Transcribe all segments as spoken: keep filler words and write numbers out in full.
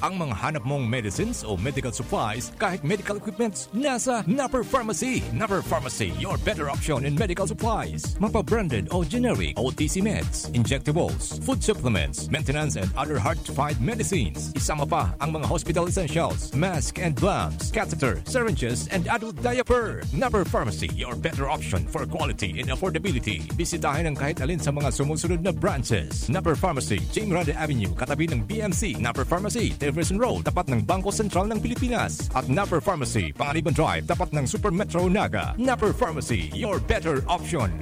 Ang mga hanap mong medicines o medical supplies, kahit medical equipments, nasa Napper Pharmacy. Napper Pharmacy, your better option in medical supplies. Mapa branded o generic, O T C meds, injectables, food supplements, maintenance and other hard-to-find medicines. Isama pa ang mga hospital essentials, mask and gloves, catheter, syringes, and adult diaper. Napper Pharmacy, your better option for quality and affordability. Bisitahin ang kahit alin sa mga sumusunod na branches. Napper Pharmacy, Jing Grande Avenue, katabi ng B M C. Napper Pharmacy, Jefferson Road, tapat ng Bangko Sentral ng Pilipinas. At Napper Pharmacy, Panganiban Drive, tapat ng Super Metro Naga. Napper Pharmacy, your better option.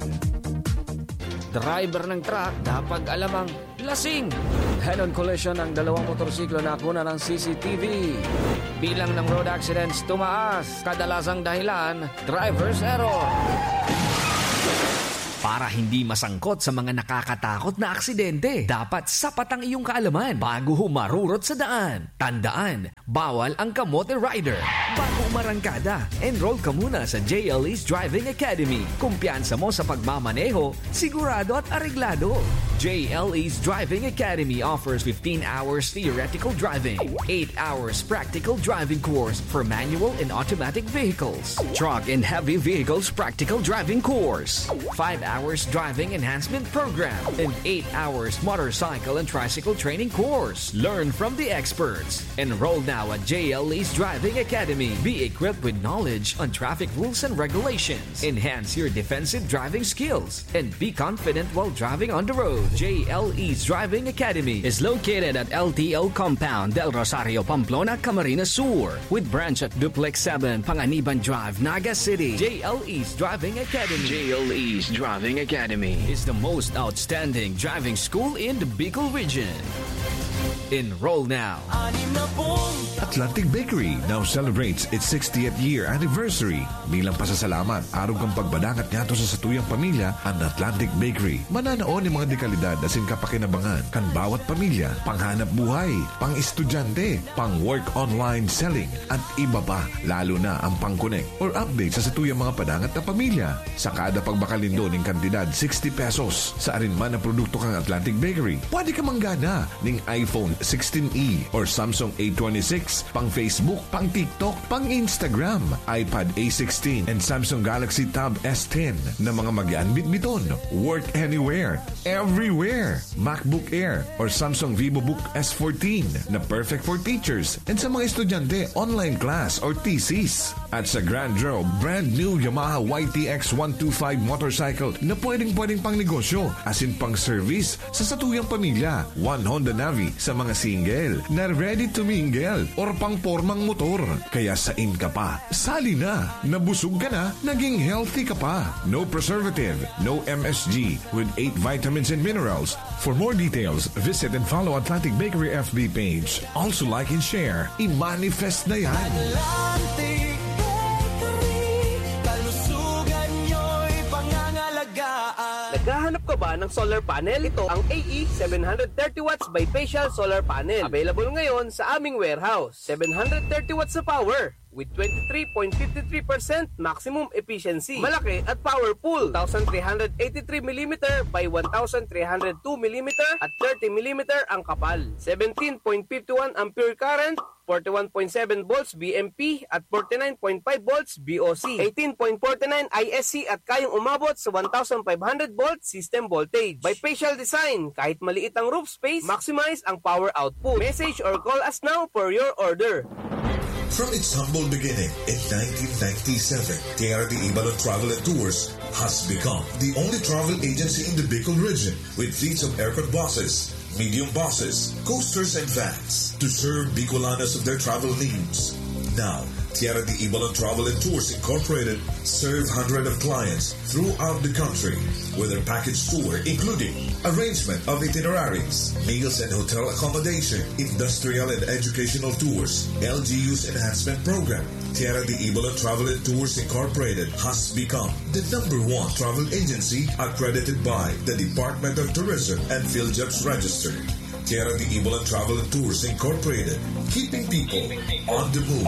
Driver ng truck, dapat alamang lasing. Head-on collision ng dalawang motorsiklo na kunan ng C C T V. Bilang ng road accidents tumaas, kadalasang dahilan, driver's error. Para hindi masangkot sa mga nakakatakot na aksidente, dapat sapat ang iyong kaalaman bago humarurot sa daan. Tandaan, bawal ang kamote rider. Bago umarangkada, enroll ka muna sa J L E's Driving Academy. Kumpiyansa mo sa pagmamaneho, sigurado at areglado. J L E's Driving Academy offers fifteen hours theoretical driving, eight hours practical driving course for manual and automatic vehicles, truck and heavy vehicles practical driving course, five hours driving enhancement program, and eight hours motorcycle and tricycle training course. Learn from the experts. Enroll now at J L E's Driving Academy. Be equipped with knowledge on traffic rules and regulations. Enhance your defensive driving skills and be confident while driving on the road. J L E's Driving Academy is located at L T O Compound, Del Rosario, Pamplona, Camarines Sur, with branch at Duplex seven, Panganiban Drive, Naga City. J L E's Driving Academy. J L E's Driving Academy is the most outstanding driving school in the Bicol region. Enroll now. Atlantic Bakery now celebrates its sixtieth year anniversary. Bilang pasasalamat, arog kan pagbadangat ngadto sa satuyang pamilya, an Atlantic Bakery mananao nin mga dekalidad asin kapakinabangan kan bawat pamilya, panghanap buhay, pang-estudyante, pang-work online selling, at iba pa, lalo na ang pang-connect or update sa satuyang mga padangat na pamilya. Sa kada pagbakal nindo nin kantidad sixty pesos sa arin man na produkto kan Atlantic Bakery, pwede ka manggana ning iPhone sixteen E or Samsung A twenty-six, pang Facebook, pang TikTok, pang Instagram, iPad A sixteen, and Samsung Galaxy Tab S ten na mga magian bitbiton. Work anywhere, everywhere. MacBook Air or Samsung VivoBook S fourteen na perfect for teachers and sa mga estudyante, online class or thesis. At sa Grand Draw, brand new Yamaha Y T X one two five motorcycle na pwedeng-pwedeng pang negosyo, asin pang service sa satuyang pamilya. One Honda Navi sa mga single na ready to mingle or pang pormang motor. Kaya sain ka pa? Sali na! Nabusog ka na, naging healthy ka pa. No preservative, no M S G, with eight vitamins and minerals. For more details, visit and follow Atlantic Bakery F B page. Also like and share. I-manifest na yan! Atlantic Bakery, kalusugan nyo'y pangangalagaan. Naghahanap ka ba ng solar panel? Ito ang A E seven hundred thirty watts bifacial solar panel. Available ngayon sa aming warehouse. Seven hundred thirty watts na power with twenty-three point five three percent maximum efficiency. Malaki at powerful. Two thousand three hundred eighty-three millimeter by one thousand three hundred two millimeter at thirty millimeter ang kapal. Seventeen point five one ampere current, forty-one point seven volts V M P at forty-nine point five volts V O C, eighteen point forty-nine I S C at kayang umabot sa one thousand five hundred volt system voltage. Bifacial design, kahit maliit ang roof space, maximize ang power output. Message or call us now for your order. From its humble beginning in nineteen ninety-seven, Tierra de Ibalon Travel and Tours has become the only travel agency in the Bicol region with fleets of aircon buses, medium buses, coasters, and vans to serve Bicolanos of their travel needs. Now, Tierra de Ibalon Travel and Tours Incorporated serve hundreds of clients throughout the country with their package tour, including arrangement of itineraries, meals and hotel accommodation, industrial and educational tours, L G U's enhancement program. Tierra de Ibalon Travel and Tours Incorporated has become the number one travel agency accredited by the Department of Tourism and PhilJobs Register. Tierra de Ibalon Travel and Tours Incorporated, keeping people on the move.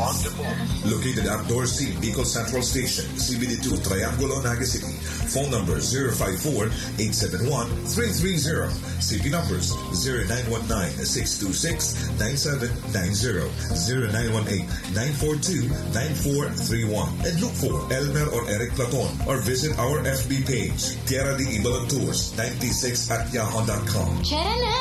Located at Dorsey, Bicol Central Station, C B D two, Triangulo, Naga City. Phone number zero five four, eight seven one, three three zero. C P numbers zero nine one nine, six two six, nine seven nine zero, zero nine one eight, nine four two, nine four three one. And look for Elmer or Eric Platon or visit our F B page, Tierra de Ibalan Tours ninety-six at yahoo dot com. Tara na!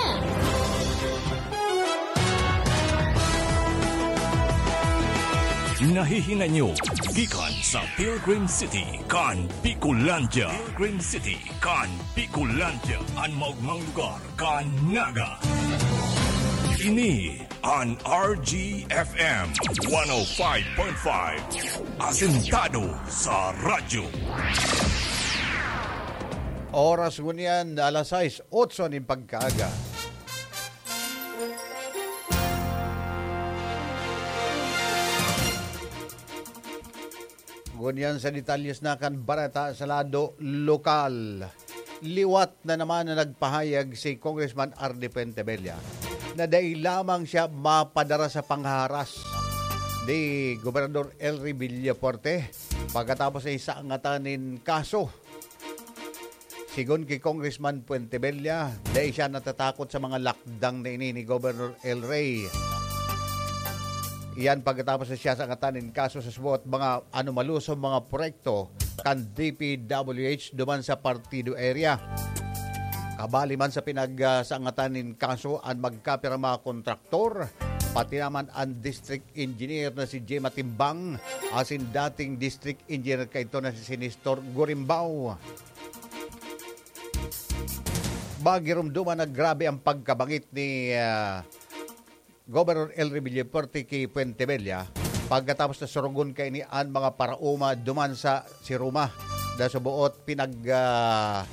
Nahihinay nyo gikan sa Pilgrim City kan Bicolandia. Pilgrim City kan Bicolandia, an maogmang lugar kan Naga. Ini an R G F M one oh five point five, asentado sa radyo. Oras ngunyan, alas sais, otso nin pagkaaga. Ngunyan sa detalyes na kan bareta sa lado lokal. Liwat na naman na nagpahayag si Congressman Ardy Fuentebella na dai lamang siya mapadara sa panghaharas ni Gobernador Elry Villafuerte pagkatapos sa isangatan nin kaso. Sigon ki Congressman Fuentebella, dai siya natatakot sa mga lakdang na ini ni Governor Elry. Iyan pagkatapos na siya sangatan nin kaso sa suwat mga anomalos o mga proyekto kan D P W H duman sa partido area. Kabali man sa pinagsangatan nin kaso an magkapirang mga kontraktor, pati naman an district engineer na si Jay Matimbang asin dating district engineer kaidto na si Nestor Gurimbao. Magirumduman na grabe ang pagkabangit ni, ah, Governor Elry Villafuerte ki Fuentebella pagkatapos na surugon kaini an mga paraoma duman sa Siruma na suboot pinag, ah,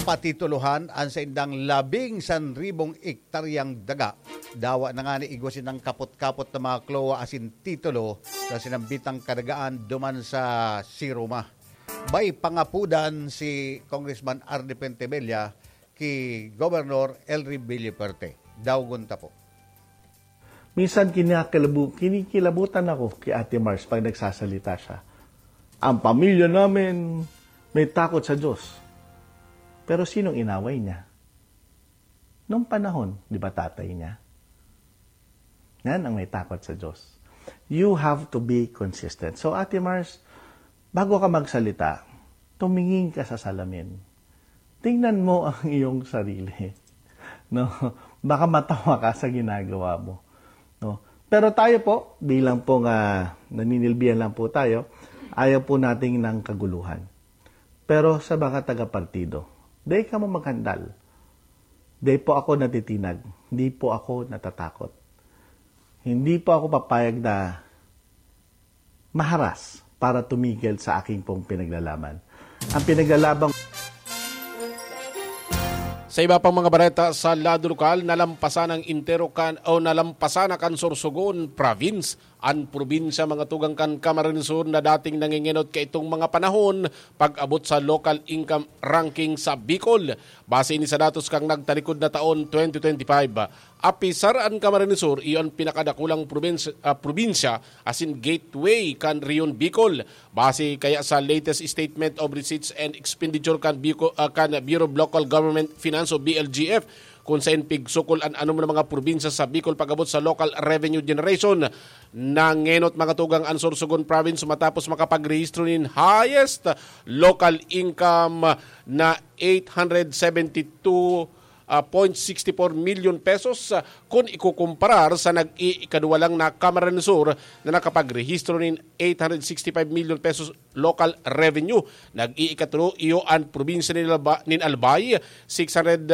patitulohan an saindang labing sanribong ektaryang daga. Dawa na ngani igwa sindang kapot-kapot na mga klowa asin titulo sa sinambitang kadagaan duman sa Siruma. May pangapodan si Congressman Ardy Fuentebella ki Gobernador Elry Villafuerte. Daugon ta po. Minsan kinikilabu-, kinikilabutan ako kay Ate Mars pag nagsasalita siya. "Ang pamilya namin may takot sa Diyos." Pero sinong inaway niya? Nung panahon, di ba tatay niya? Yan ang may takot sa Diyos. You have to be consistent. So, Ate Mars, bago ka magsalita, tumingin ka sa salamin. Tingnan mo ang iyong sarili. No? Baka matawa ka sa ginagawa mo. No? Pero tayo po, bilang pong, ah, naninilbihan lang po tayo, ayaw po nating ng kaguluhan. Pero sa mga taga-partido, dai kamo maghandal. Dai po ako natitinag. Hindi po ako natatakot. Hindi po ako papayag na maharas para tumigil sa aking pong pinaglalaban. Ang pinaglalaban Sa iba pang mga bareta sa lado lokal, nalampasan ang entero kan o nalampasan na kan Sorsogon Province an probinsya, mga tugang, kan Camarines Sur na dating nangengenot kaitong mga panahon pag-abot sa local income ranking sa Bicol. Base ini sa datos kan nagtalikod na taon, twenty twenty-five. Apisar an Camarines Sur, iyo an pinakadakulang probinsya, ah, probinsya asin gateway kan Rehiyon Bicol. Base kaya sa latest statement of receipts and expenditure kan Bico-, ah, kan Bureau of Local Government Finance o B L G F, kun saen pigsukol an anom na mga probinsya sa Bicol pag-abot sa local revenue generation, nangenot, mga tugang, an Sorsogon Province matapos makapagrehistro nin highest local income na eight hundred seventy-two, ah, point sixty-four million pesos, ah, kun ikukumparar sa nag-iikadwa lang na Camarines Sur na nakapagrehistro nin eight hundred sixty-five million pesos local revenue. Nag-iikatlo iyo an probinsya nin Alba-, nin Albay, six hundred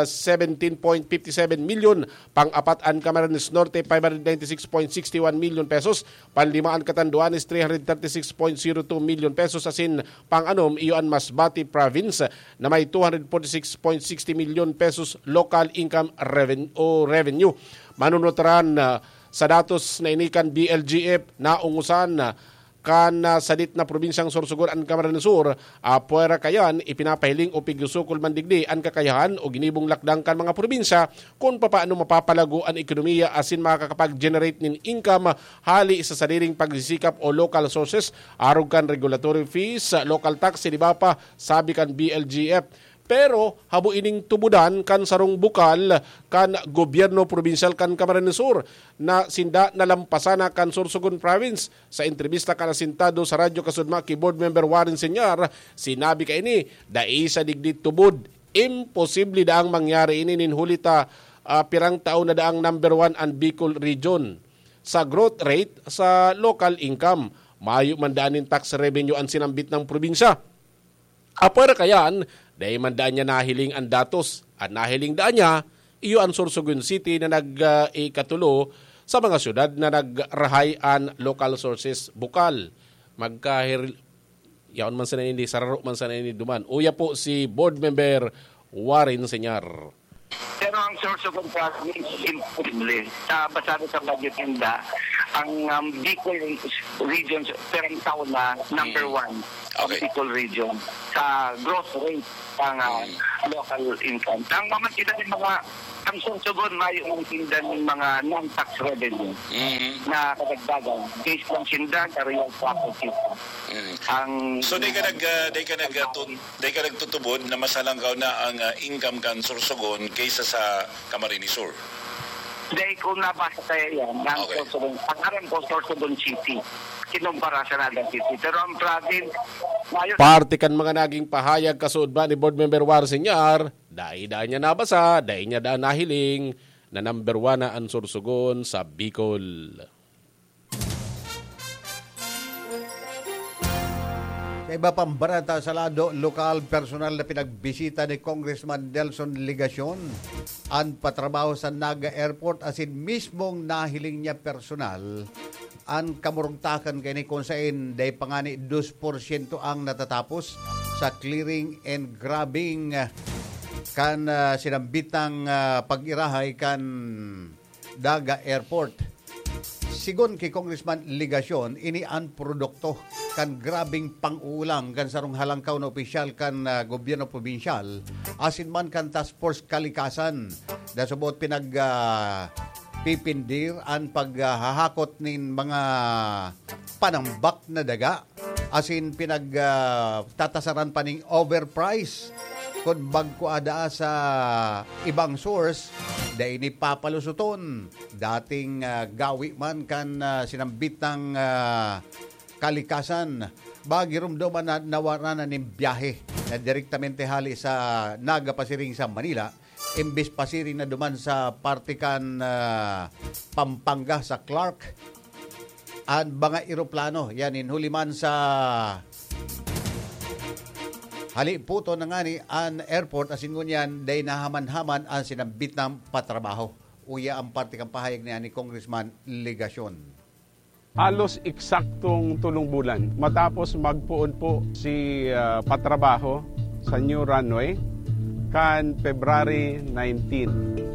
seventeen point fifty-seven million. Pang-apat an Camarines Norte, five hundred ninety-six point sixty-one million pesos. Panlima an Catanduanes, three hundred thirty-six point zero two million pesos. Asin pang-anom iyo an Masbate Province na may two hundred forty-six point sixty million pesos local income reven-, o revenue. Manunutaran, ah, sa datos na ini kan B L G F, naungosan, ah, kan, ah, sadit na probinsyang Sorsogon an Camarines Sur. Apwera kayan, ipinapahiling o pigsosokol man digdi an kakayahan o ginibong lakdang kan mga probinsya kun papaano mapapalago an ekonomiya asin makakapag-generate nin income hali sa sariling pagsisikap o local sources, arog kan regulatory fees, local tax, siniba pa, sabi kan B L G F. Pero habo ining tubodan kan sarong bukal kan gobyerno probinsyal kan Camarines Sur na sinda nalampasan na kan Sorsogon Province. Sa entrebista kan asintado sa Radyo Kasudma ki Board Member Warren Señar, sinabi kaini, dai sa digdi tubod. Imposible daang mangyari ini nin huli ta, ah, pirang taon na daang number one an Bicol Region sa growth rate sa local income. Mayo man daan nin tax revenue an sinambit na probinsya. Apwera kayan, dai man daan niya nahiling an datos. An nahiling daan niya, iyo an Sorsogon City na nag, ah, ikatulo sa mga syudad na nagrahay an local sources bukal. Magkahir-, yaon man sana ini, sararo man sana ini duman. Uya po si Board Member Warren Señar. Pero ang Sorsogon Province, imposible. Sa basado sa budget ninda, ang um, Bicol region, perang taon na number Mm. one ang Okay. Bicol region sa growth rate ng uh, Mm. local income. Ang mamantidan ng mga, ang Sorsogon, may umitinda ng mga non-tax revenue Mhm. na kadagdagan based lang sinda sa real property. Mm. Ang So, di ka nag, ah, di ka nag, ah, tun-, di ka nagtutubod na mas halangkaw na ang ah, income kan Sorsogon kaysa sa Camarines Sur? Dahil kung nabasa kaya yan, ang Okay. Sorsogon, ang aram ko, Sorsogon City, kinumpara sa Naga City. Pero ang province, mayo Parte kan mga naging pahayag kasuod ba ni Board Member Warren Señar, dai daan niya nabasa, dai niya daan nahiling na number one na an Sorsogon sa Bicol. Sa iba pang bareta sa lado lokal, personal na pinagbisita ni Congressman Nelson Legacion an patrabaho sa Naga Airport asin mismong nahiling niya personal an kamurugtakan kaini kun sain dai pa ngani dos porsyento ang natatapos sa clearing and grubbing kan ah, sinambitang ah, pag-irahay kan Naga Airport. Sigon ki Congressman Legacion, ini an produkto kan grabeng pang-uulang kan sarong halangkaw na opisyal kan ah, gobyerno probinsyal asin man kan Task Force Kalikasan na subot pinag ah, pipindir an paghahakot nin mga panambak na daga asin pinag ah, tatasaran pa ning overprice. Kun bagko ada sa ibang source, dai ni papalusuton. Dating ah, gawi man kan ah, sinambitang ah, kalikasan, bagirumdoman na nawara na nin biyahe na direktamente hali sa Naga pasiring sa Manila, imbis pasiring na duman sa parte kan ah, Pampanga sa Clark. An mga eroplano, yan, inhuli man sa haliputon na ngani an airport, asin ngunyan, dai nahaman-haman an sinambit na patrabaho. Uya ang parte kan pahayag niya ni Congressman Legacion. Halos eksaktong tolong bulan matapos magpoon po si ah, patrabaho sa new runway kan February nineteen.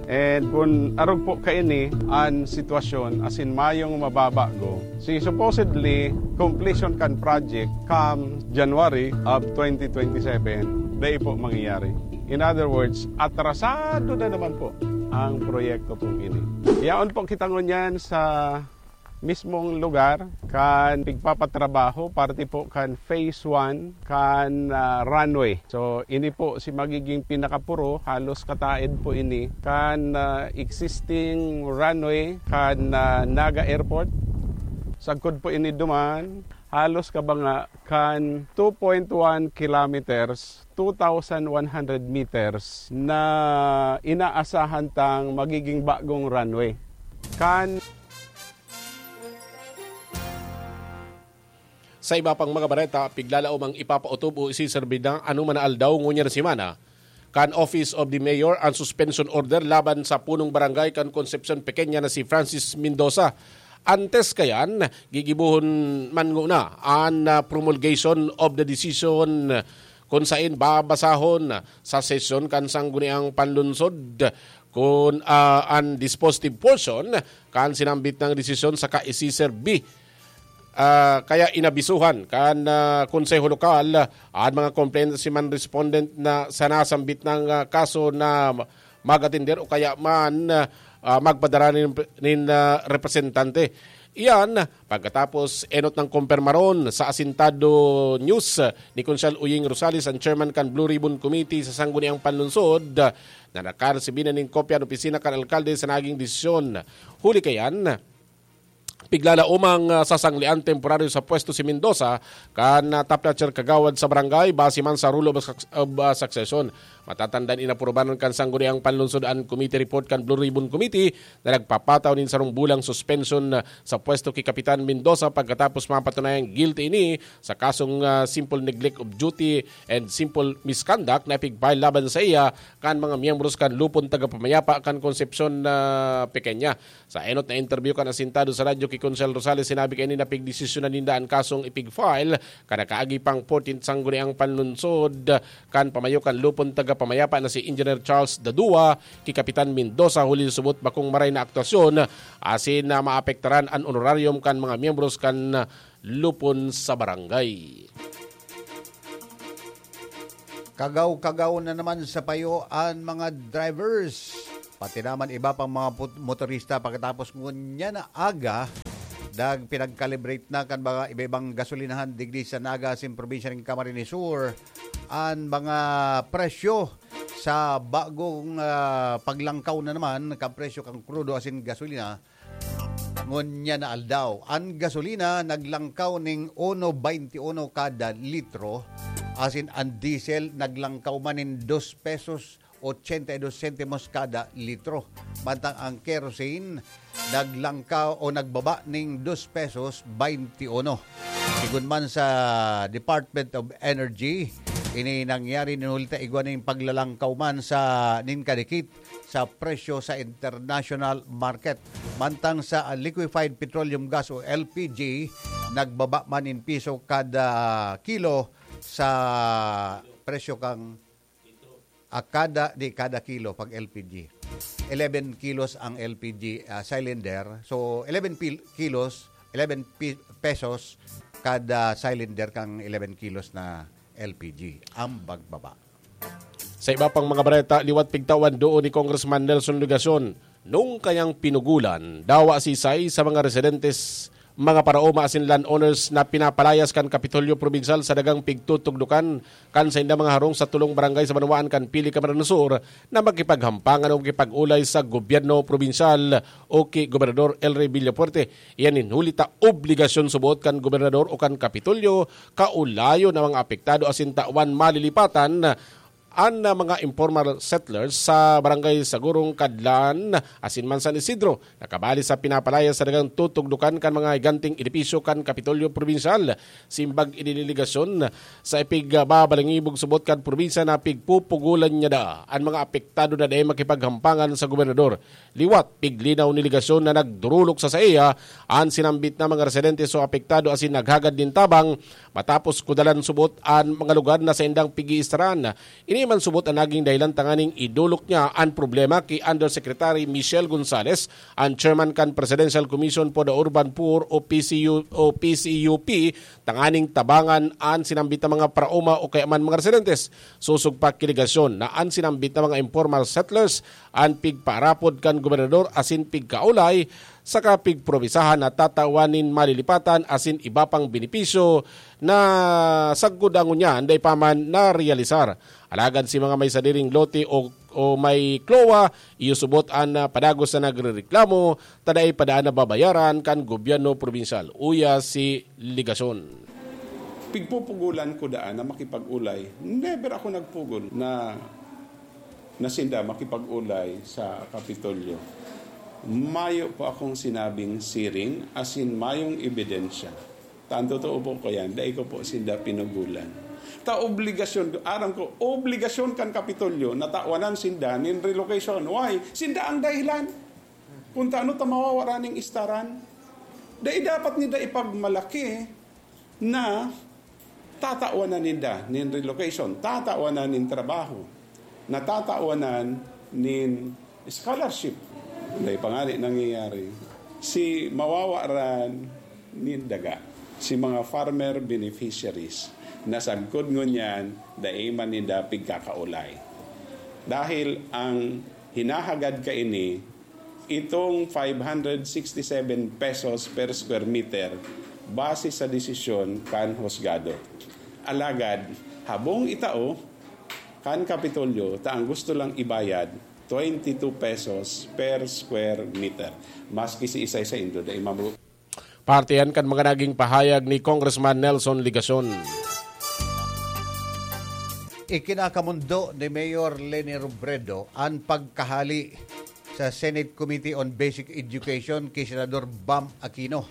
And kun arog po kaini an sitwasyon asin mayong mababago, si supposedly completion kan project come January of twenty twenty-seven, dai po mangyayari. In other words, atrasado na naman po ang proyekto pong ini. Yaon po kita ngunyan sa mismong lugar kan pigpapatrabaho, parte po kan phase one kan ah, runway. So, ini po si magiging pinakapuro, halos kataed po ini kan ah, existing runway kan ah, Naga Airport. Sagkod po ini duman, halos kabanga kan two point one kilometers, two thousand one hundred meters na inaasahan tang magiging bagong runway. Kan Sa iba pang mga bareta, piglalaom ang ipapautob o isiserbi na anoman na aldaw ngunyan na semana kan Office of the Mayor ang suspension order laban sa punong barangay kan Concepcion Pequeña na si Francis Mendoza. Antes kayan, gigibohon man nguna an ah, promulgation of the decision kun sain babasahon sa sesyon kan Sangguniang Panlunsod kun ah, an dispositive portion kan sinambit na desisyon saka isiserbi Ah, kaya inabisuhan kan, ah, Konseho Lokal an mga complainant asin mga respondent na sa nasambit na, ah, kaso na mag-atender o kaya man, ah, magpadara nin, nin, ah, representante. Iyan pagkatapos enot nang kumpirmaron sa Asintado News ni Konsehal Uying Rosales, ang chairman kan Blue Ribbon Committee sa Sangguniang Panlungsod, na nakaresibi na nin kopya an opisina kan alkalde sa naging desisyon. Huli kayan, piglalaomang, ah, sasanglian temporaryo sa pwesto si Mendoza kan, ah, top notcher kagawad sa barangay base man sa rule of suc-, of, ah, succession. Matatandaan, inaprobahan kan Sangguniang Panlungsod an committee report kan Blue Ribbon Committee na nagpapataw nin sarong bulang suspension, ah, sa pwesto ki Kapitan Mendoza pagkatapos mapatunayang guilty ini sa kasong, ah, simple neglect of duty and simple misconduct na ipig-file laban sa iya kan mga miyembros kan Lupon Tagapamayapa kan Concepcion, ah, Pequeña. Sa enot na interview kan Asintado sa radyo ki Konsehal Rosales, sinabi kaini na pigdesisyonan ninda an kasong ipig-file kan nakaagi pang fourteenth Sangguniang Panlungsod kan pamayo kan Lupon Tagapamayapa na si Engineer Charles Dadua ki Kapitan Mendoza, huli subot bakong maray na aktuasyon asin na maapektaran an honorarium kan mga miyembros kan lupon sa barangay. Kagaw-kagaw na naman sa payo an mga drivers, pati naman iba pang mga put-, motorista, pagkatapos ngunyan na aga, nagpinag-calibrate na kan mga iba-ibang gasolinahan digdi sa Naga asin probinsya nin Camarines Sur an mga presyo sa bagong, ah, paglangkaw na naman kan presyo kan krudo asin gasolina ngunyan na aldaw. An gasolina naglangkaw ning uno baynti uno kada litro, asin an diesel naglangkaw man nin dos pesos ochenta y dos sentimos kada litro. Mantang ang kerosene naglangkaw o nagbaba ning dos pesos baynti uno. Sigon man sa Department of Energy, ini nangyari nin huli ta igwa nin paglalangkaw man sa nin kadikit sa presyo sa international market. Mantang sa liquefied petroleum gas o L P G, nagbaba man in piso kada kilo sa presyo kang, ah, kada, di, kada kilo pag L P G. Eleven kilos ang L P G, ah, cylinder. So, eleven pil-, kilos, eleven pi-, pesos kada cylinder kang eleven kilos na L P G ang pagbaba. Sa iba pang mga bareta, liwat pigtawan duon ni Congressman Nelson Legacion, nung kayang pinugulan, dawa sisay sa mga residentes, mga paraoma asin landowners na pinapalayas kan Kapitolyo Probinsyal sa dagang pigtutugdukan kan sainda mga harong sa tulong barangay sa banwaan kan Pili, Camarines Sur na makipaghampangan o makipag-olay sa gobyerno probinsyal o ki Gobernador El Rey Villafuerte. Iyan nin huli ta obligasyon subot kan gobernador o kan Kapitolyo kaolayon na mga apektado asin tawan malilipatan an, ah, mga informal settlers sa Barangay Sagurong Kadlan asin man San Isidro, na kabali sa pinapalayas sa dagang tutugdukan kan mga higanting edipisyo kan Kapitolyo Probinsyal. Simbag ini nin legasyon, sa ipigbabalangibog subot kan probinsya na pigpupugulan niya daa an mga apektado na dai makipaghampangan sa gobernador. Liwat, piglinaw ni legasyon na nagdurulok sa saiya an sinambit na mga residente so apektado asin naghagad nin tabang matapos kudalan subot an mga lugar na saindang pig-iistaran. Ini man subot an naging dahilan tanganing idolok niya an problema ki Undersecretary Michelle Gonzales, an chairman kan Presidential Commission for the Urban Poor o P C U, o P C U P, tanganing tabangan an sinambit na mga paraoma o kaya man mga residentes. Sosog pa ki legasyon na an sinambit na mga informal settlers an pigpaarapod kan gobernador asin pigkaolay saka pigpromisahan na tatawan nin malilipatan asin iba pang benepisyo na sagkod ngunyan dai pa man narealisar. Alagad si mga may sadiring lote o, o may klowa, iyo subot an, ah, padagos na nagrereklamo ta dai pa daan nababayaran kan gobyerno probinsyal, uya si Legasyon. Pigpupugulan ko daan na makipag-olay. Never ako nagpugol na, na sinda makipag-olay sa Kapitolyo. Mayo po akong sinabing siring, asin mayong ebidensya. Tan totoo po ko yan, dai ko po sinda pinugulan. Ta obligasyon, aram ko, obligasyon kan Kapitolyo na tawanan sinda nin relocation. Why? Sinda ang dahilan. Kung taano ta mawawara ning istaran, dai dapat ninda ipagmalaki na tatawan na ninda nin relocation, tatawan na nin trabaho, na tatawan na nin scholarship. Dai pa ngani nangyayari. Si mawawaran nin daga. Si mga farmer beneficiaries na sagkod ngunyan dai man ninda pigkakaolay. Dahil ang hinahagad kaini, itong five hundred sixty-seven pesos per square meter base sa desisyon kan husgado. Alagad, habong itao kan Kapitolyo ta ang gusto lang ibayad twenty-two pesos per square meter. Maski si isay saindo dai mabu- Parte yan kan mga naging pahayag ni Congressman Nelson Legacion. Ikinakamundo ni Mayor Leni Robredo an pagkahali sa Senate Committee on Basic Education ki Senador Bam Aquino.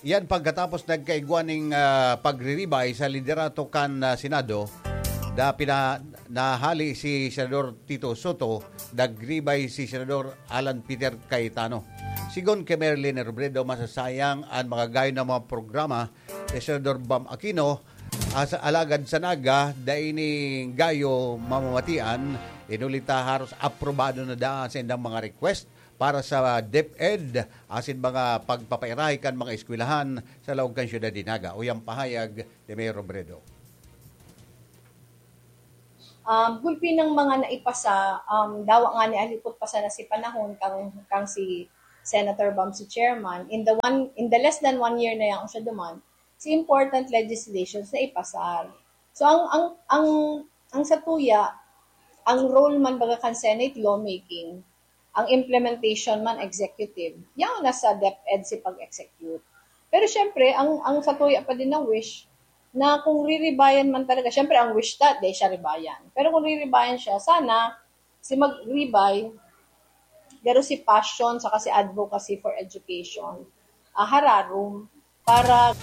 Yan pagkatapos nagkaigwa ning, ah, pagriribay sa liderato kan, ah, Senado, da pina-, nahali si Senador Tito Soto, nagribay si Senador Alan Peter Cayetano. Sigon ki Mayor Leni Robredo, masasayang an makagayon na mga programa ni Senador Bam Aquino, as-, alagad sa Naga, dai ni gayo mamamatian, inuli ta haros aprobado na daa sa indang mga request para sa DepEd asin mga pagpapairahay kan mga eskwelahan sa laog kan syudad nin Naga. Uyan pahayag ni Mayor Robredo. Um, gulpi ng mga naipasa, um, dawa nga ni alipot pa sana si panahon kang, kang si Senator Bam si chairman. In the one, in the less than one year na yan siya duman, si important legislations na ipasar. So, ang, ang, ang, ang satuya, ang role man baga kan Senate lawmaking, ang implementation man executive, yaon na sa DepEd si pag-execute. Pero syempre, ang, ang satuya pa din na wish, na kung riribayan man talaga, syempre ang wish ta, di siya ribayan. Pero kung riribayan siya, sana si magribay, pero si passion saka si advocacy for education, ah, hararom para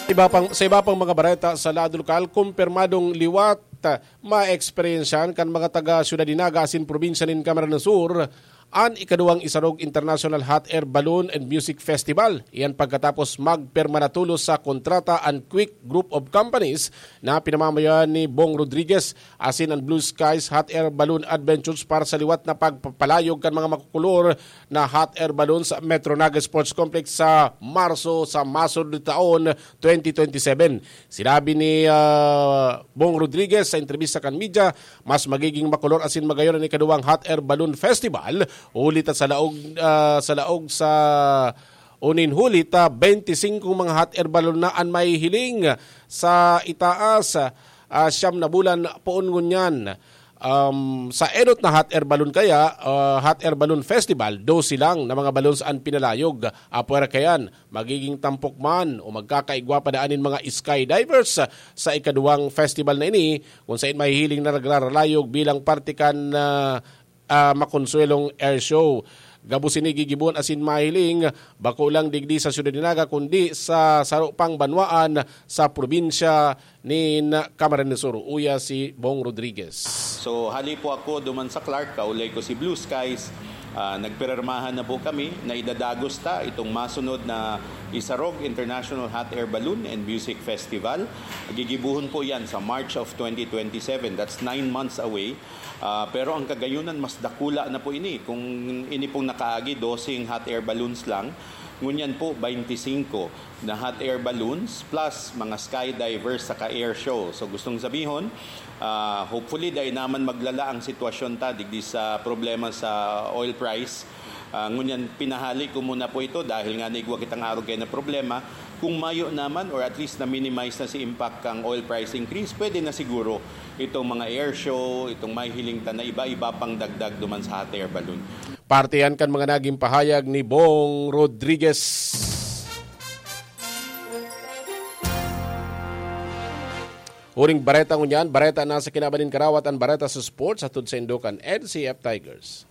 Iba pang, sa iba pang mga bareta sa lado lokal, kumpirmadong liwat, ah, maeksperyensyahan kan mga taga Syudad nin Naga asin probinsya nin Camarines Sur an ikaduwang Isarog International Hot Air Balloon and Music Festival. Iyan pagkatapos magpirma na tolos sa kontrata an Quick Group of Companies na pinamamayoan ni Bong Rodriguez asin an Blue Skies Hot Air Balloon Adventures para sa liwat na pagpapalayog kan mga makukulor na hot air balloon sa Metro Naga Sports Complex sa Marso sa masunod na taon, twenty twenty-seven. Sinabi ni, ah, Bong Rodriguez sa entrebista kan media, mas magiging makulor asin magayon an ikaduwang Hot Air Balloon Festival, huli ta sa laog, ah, sa laog sa unin huli ta, twenty-five mga hot air balloon na an mahihiling sa itaas, ah, siyam na bulan poon ngunyan. Um, sa enot na hot air balloon kaya, ah, hot air balloon festival, dose lang na mga balloons an pinalayog. Apwera kayan, magiging tampok man o magkakaigwa pa daan nin mga skydivers sa ikaduwang festival na ini, kung sain mahihiling na nagraralayog bilang parte kan, ah, ah, Makonsuelong Air Show. Gabos ini gigibohon asin mahiling, bako lang digdi sa Syudad nin Naga, kundi sa saro pang banwaan sa probinsya nin Camarines Sur, uya si Bong Rodriguez. So, hali po ako duman sa Clark, kaulay ko si Blue Skies. Ah, nagpirermahan na po kami na idadagos ta itong masunod na Isarog International Hot Air Balloon and Music Festival. Gigibuhon po yan sa March of twenty twenty-seven. That's nine months away. Ah, pero ang kagayunan, mas dakula na po ini. Kung ini pong nakaagi, doseng hot air balloons lang. Ngunyan po, twenty-five na hot air balloons plus mga skydivers saka air show. So, gustong sabihon, ah, hopefully, dai naman maglala ang sitwasyon ta digdi sa problema sa oil price. Ah, ngunyan, pinahali ko muna po ito dahil nga naigwa kitang arog kayo na problema. Kung mayo naman, or at least na-minimize na si impact kang oil price increase, pwede na siguro itong mga air show, itong mahihiling ta na iba-iba pang dagdag duman sa hot air balloon. Parte yan kan mga naging pahayag ni Bong Rodriguez. Huring bareta ngunyan, bareta na sa kinaban nin karawat, an bareta sa sports, hatod sa Indokan N C F Tigers.